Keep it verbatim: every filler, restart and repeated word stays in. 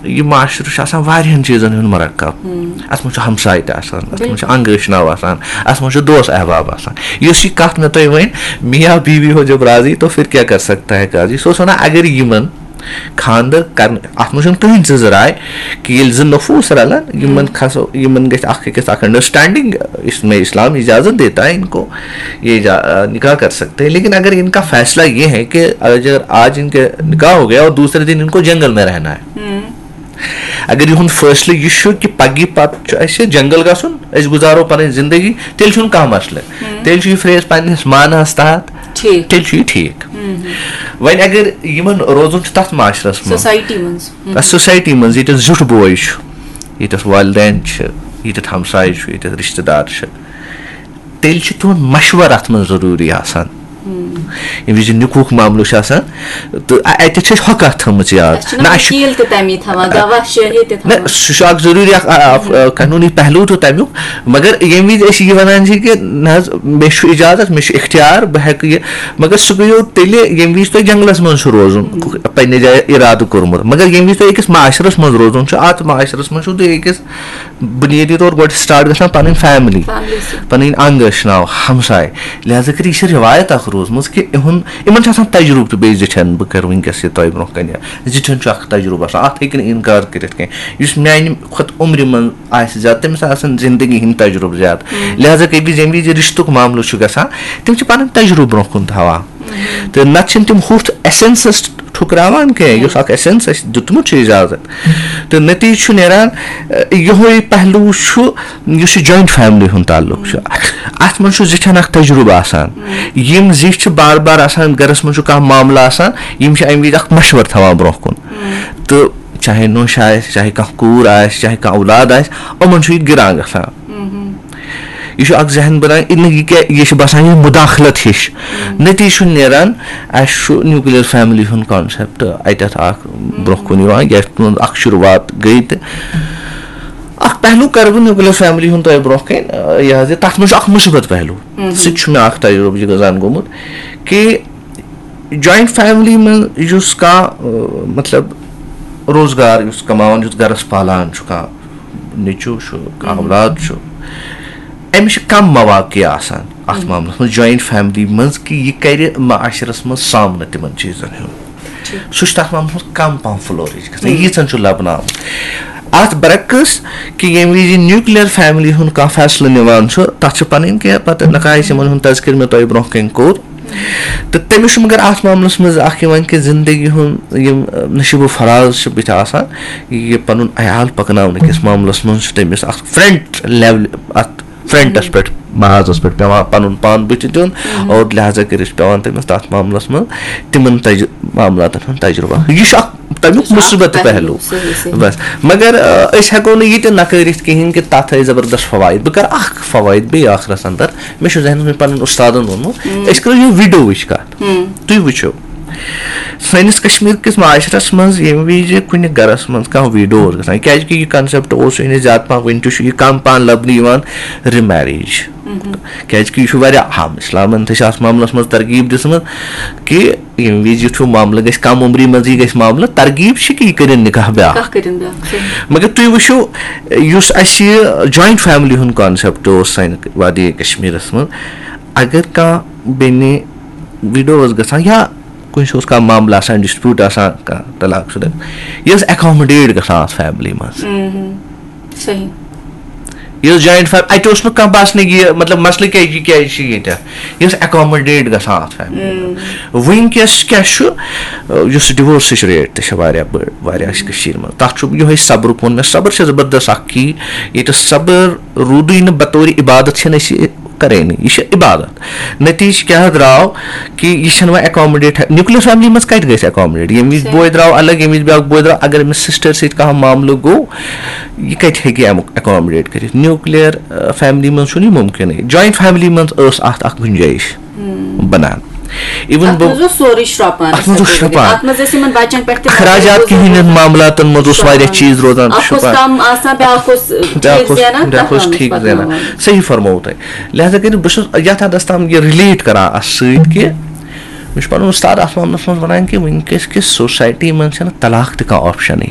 یہِ معاشرٕ چھُ آسان واریاہَن چیٖزَن ہُنٛد مرکب۔ اَتھ منٛز چھُ ہمساے تہِ آسان، اَتھ منٛز چھُ بِلکُل۔ انٛگہٕ ٲشناو آسان، اَتھ منٛز چھُ دوس احباب آسان۔ یۄس یہِ کَتھ مےٚ تۄہہِ ؤنۍ، میاں بیوی ہو جب راضی تو پھر کیا کر سکتا ہے قاضی، سُہ اوس وَنان، اگر یِمَن خانٛدر کَرنہٕ، اَتھ منٛز چھُنہٕ کٕہٕنۍ زٕ زٕ راے کہِ ییٚلہِ زٕ نفوٗس رَلَن، یِمَن کھسو، یِمَن گژھِ اَکھ أکِس اَکھ انڈرسٹینڈنگ، اس میں اسلام اجازت دیتا ہے ان کو یہ جا-، نکاح کر سکتے ہیں، لیکن اگر ان کا فیصلہ یہ ہے کہ اگر آج ان کے نکاح ہو گیا اور دوسرے دن ان کو جنگل میں رہنا ہے، اگر یِہُنٛد فٲصلہٕ یہِ چھُ کہِ پگہٕ پتہٕ چھُ اَسہِ جنگل گژھُن، أسۍ گُزارو پنٕنۍ زندگی، تیٚلہِ چھُنہٕ کانٛہہ مسلہٕ۔ تیٚلہِ چھُ یہِ فریز پننِس معناہس تحت، ٹھیٖک۔ تیٚلہِ چھُ یہِ ٹھیٖک۔ وۄنۍ اگر یِمن روزُن چھُ تتھ معاشرس منٛز، سوسایٹی منٛز۔ تتھ سوسایٹی منٛز ییٚتٮ۪تھ زیُٹھ بوے چھُ، ییٚتٮ۪تھ والدین چھِ، ییٚتٮ۪تھ ہمساے چھُ، ییٚتٮ۪تھ رشتہٕ دار چھِ، تیٚلہِ چھُ تِہُنٛد مشورٕ اتھ منٛز ضروٗری آسان۔ ییٚمہِ وِزِ نِکوٗک معاملہٕ چھُ آسان، تہٕ اَ-، اَتٮ۪تھ چھِ اَسہِ ہۄ کَتھ تھٲمٕژ یاد۔ اَسہِ چھُنہ نہ، اَسہِ چھُ وکیٖل تہِ تَمی تھاوان، گواہ شٲہِد تہِ نہ، تھاوان۔ سُہ چھُ اکھ ضروٗری اکھ، اَ-، اَ-، قانوٗنی پہلو تہِ تَمیُک، مگر ییٚمہِ وِزِ أسۍ یہِ وَنان چھِ کہِ نہ حظ، مےٚ چھُ اِجازت، مےٚ چھُ اختیار، بہٕ ہٮ۪کہٕ یہِ، مگر سُہ گٔیو تیٚلہِ، ییٚمہِ وِزِ تۄہہِ جنگلس منٛز چھُ روزُن، پننہِ جایہِ اِرادٕ کوٚرمُت۔ مگر ییٚمہِ وِزِ تۄہہِ أکِس معاشرس منٛز روزُن چھُ، اَتھ معاشرس منٛز چھُو تُہۍ أکِس بُنیٲدی طور گۄڈٕ start گژھان پنٕنۍ family، family سۭتۍ۔ پنٕنۍ انگ ٲشناو، ہمساے۔ لہذا کٔرِتھ یہِ چھِ رِوایت اکھ روٗزمٕژ کہِ یِہُنٛد، یِمن چھُ آسان تجرُبہٕ تہِ بیٚیہِ زِٹھٮ۪ن، بہٕ کرٕ وٕنکیٚس یہِ تۄہہِ برونٛہہ کنہِ، زِٹھٮ۪ن چھُ اکھ تجرُبہٕ آسان، اتھ ہیٚکہِ نہٕ انکار کٔرِتھ کینٛہہ۔ یُس میانہِ کھۄتہٕ عمرِ منٛز آسہِ زیادٕ، تٔمِس آسان زندگی ہٕنٛدۍ تجرُبہٕ زیادٕ۔ لہذا کٔرِتھ ییٚمہِ وِزِ رشتُک معاملہٕ چھُ گژھان، تِم چھِ پنٕنۍ تجرُبہٕ برونٛہہ کُن تھاوان۔ تہٕ نتہٕ چھِنہٕ تِم ہُتھ ایسنسس ٹھُکراوان کینٛہہ، یُس اکھ ایسنس اَسہِ دیُتمُت چھُ اجازت۔ تہٕ نتیجہٕ چھُ نیران، اَ، یِہوٚے پہلو چھُ، یُس یہِ جوینٹ فیملی ہُنٛد تعلق چھُ۔ اتھ منٛز چھُ زِٹھٮ۪ن اکھ تجرُبہٕ آسان۔ یِم زِٹھۍ چھِ بار بار آسان، گرس منٛز چھُ کانٛہہ معاملہٕ آسان، یِم چھِ امہِ وِزِ اکھ مشورٕ تھاوان برونٛہہ کُن۔ تہٕ چاہے نوٚش آسہِ، چاہے کانٛہہ کوٗر آسہِ، چاہے کانٛہہ اولاد آسہِ، یِمن چھُ یہِ گِران گژھان۔ یہِ چھُ اکھ ذہن بنان، یہِ نہٕ، یہِ کیٛاہ، یہِ چھِ باسان یہِ مداخلت ہِش۔ نتیجہٕ چھُ نیران، اَسہِ چھُ نیوٗکلیر فیملی ہُنٛد concept اَتٮ۪تھ اکھ برونٛہہ کُن یِوان، یَتھ منٛز اکھ شروٗعات گٔے تہٕ اکھ پہلو کرٕ بہٕ نیوٗکلیر فیملی ہُنٛد تۄہہِ برونٛہہ کَنۍ، یہِ حظ یہِ تَتھ منٛز چھُ اکھ مُثبت پہلو۔ سُہ تہِ چھُ مےٚ اکھ تجرُبہٕ یہِ زن گوٚمُت کہِ جوینٹ فیملی منٛز یُس کانٛہہ، مطلب، روزگار یُس کماوان، یُس گرس پالان چھُ، کانٛہہ نیٚچوٗ چھُ، کانٛہہ اولاد چھُ، أمِس چھِ کم مواقع آسان اَتھ معاملَس منٛز، جوینٹ فیملی منٛز، کہِ یہِ کَرِ معاشرَس منٛز سامنہٕ تِمَن چیٖزَن ہُنٛد۔ سُہ چھُ تَتھ معاملَس منٛز کم پَہَم flourish گژھان، ییٖژَن چھُ لَبنہٕ آمُت۔ اَتھ برعکس، کہِ ییٚمہِ وِزِ نیوٗکلیر فیملی ہُنٛد کانٛہہ فیصلہٕ نِوان چھُ، تَتھ چھِ پَنٕنۍ کینٛہہ پَتہٕ نقائص، یِمَن ہُنٛد تذکر مےٚ تۄہہِ برونٛہہ کَنہِ کوٚر۔ تہٕ تٔمِس چھُ مگر اَتھ معاملَس منٛز اَکھ یِوان کہِ زِندگی ہُنٛد یِم، نصیٖب و فراز چھِ بٕتھِ آسان، یہِ پَنُن عیال پَکناونہٕ کِس معاملَس منٛز چھُ تٔمِس اَکھ فرنٹ لیولہِ، اَتھ فرنٹَس پٮ۪ٹھ، محاذَس پٮ۪ٹھ پٮ۪وان پَنُن پان بٕتھِ دیُن، اور لہذا کٔرِتھ چھُ پٮ۪وان تٔمِس تَتھ معاملَس منٛز تِمَن تَجہِ-، معاملاتَن ہُنٛد تجرُبہٕ۔ یہِ چھُ اَکھ تَمیُک یہِ چھُ اَکھ مُثبت پہلوٗ، پہلوٗ۔ صحیح، صحیح۔ بَس، مگر، آ، أسۍ ہٮ۪کو نہٕ یہِ تہِ نَکٲرِتھ کِہیٖنۍ کہِ تَتھ ٲسۍ زبردست فوائد۔ بہٕ کَرٕ اَکھ فوائد بیٚیہِ ٲخرَس اَندَر۔ مےٚ چھُ ذہنَس منٛز پَنٕنۍ اُستادَن ووٚنمُت، أسۍ کَرو یہِ ویٖڈیووٕچ کَتھ۔ تُہۍ وٕچھِو، سٲنِس کشمیٖر کِس معاشرَس منٛز ییٚمہِ وِزِ کُنہِ گَرَس منٛز کانٛہہ ویٖڈیو اوس گژھان، کیٛازِکہِ یہِ concept اوس یہِ نہٕ زیادٕ پَہَن، وٕنہِ تہِ چھُ یہِ کَم پَہَن لَبنہٕ یِوان، remarriage۔ کیٛازِکہِ یہِ چھُ واریاہ اَہَم، اِسلامَن تہِ چھِ اَتھ معاملَس منٛز ترغیٖب دِژمٕژ کہِ ییٚمہِ وِزِ یُتھ ہیوٗ معاملہٕ گژھِ، کَم عمری منٛزٕے گژھِ معاملہٕ، ترغیٖب چھِ کہِ یہِ کٔرِن نِکاح بیٛاکھ۔ نِکاح کٔرِن بیٛاکھ، صحیح۔ مگر تُہۍ وٕچھِو، یُس اَسہِ یہِ جوینٹ فیملی ہُنٛد concept اوس سانہِ وادی کشمیٖرَس منٛز، اگر کانٛہہ بیٚنہِ ویٖڈیو ٲس گژھان یا کُنہِ جایہِ اوس کانٛہہ معاملہٕ آسان، dispute آسان، کانٛہہ طلاق شُدہ، یہِ ٲس accommodate گژھان اَتھ فیملی منٛز۔ صحیح۔ یہِ ٲس جوینٹ فیملی، اَتہِ اوس نہٕ کانٛہہ باسنٕے یہِ، مطلب، مسلہٕ کیٛازِ، یہِ کیٛازِ چھِ ییٚتٮ۪تھ؟ یہِ ٲس accommodate گژھان اَتھ فیملی منٛز۔ وٕنکیٚس کیٛاہ چھُ، یُس ڈِوورسٕچ ریٹ تہِ چھِ واریاہ بٔڑ، واریاہ چھِ کٔشیٖرِ منٛز۔ تَتھ چھُ یِہوٚے صبرُک ووٚن مےٚ، صبر چھِ زبردست اَکھ key۔ ییٚتہِ صبر روٗدُے نہٕ بطورِ عبادت، چھِنہٕ أسۍ یہِ کَرٲنی، یہِ چھِ عبادت۔ نتیجہٕ کیٛاہ درٛاو کہِ یہِ چھَنہٕ وۄنۍ accommodate، nuclear family منٛز کَتہِ گژھِ accommodate؟ ییٚمہِ وِزِ صحیح۔ بوے درٛاو الگ، ییٚمہِ وِزِ بیٛاکھ بوے درٛاو، اگر أمِس سِسٹَر سۭتۍ کانٛہہ معاملہٕ گوٚو، یہِ کَتہِ ہیٚکہِ اَمیُک accommodate کٔرِتھ؟ نیوٗکلیر، آ، فیملی منٛز چھُنہٕ یہِ مُمکِنٕے۔ جوینٹ فیملی منٛز ٲس اَتھ اَکھ گُنجٲیِش بَنان۔ Even اَتھ بہٕ منٛز اوس سورُے شرٛۄپان، اَتھ منٛز اوس أسۍ ہٮ۪کو ؤنِتھ۔ شرٛۄپان۔ اَتھ منٛز ٲسۍ یِمَن بَچَن پٮ۪ٹھ تہِ اَخراجات نظر کِہیٖنۍ گُزٲرِتھ۔ نہٕ، معاملاتَن منٛز اوس واریاہ شرٛۄپان۔ چیٖز روزان اَکھ اوس شرٛۄپان۔ کَم آسان، بیٛاکھ اوس، بیٛاکھ ٹھیٖک اوس، زینان، بیٛاکھ تَتھ اوس منٛز ٹھیٖک زینان۔ پَکناوان۔ صحیح فرموو تۄہہِ۔ لہذا کٔرِتھ بہٕ چھُس یَتھ حدَس تام یہِ relate کَران اَتھ سۭتۍ کہِ مےٚ چھُ پَنُن اُستاد اَتھ معاملَس منٛز وَنان کہِ وٕنکیٚس کِس سوسایٹی منٛز چھَنہٕ طلاق تہِ کانٛہہ option-ٕے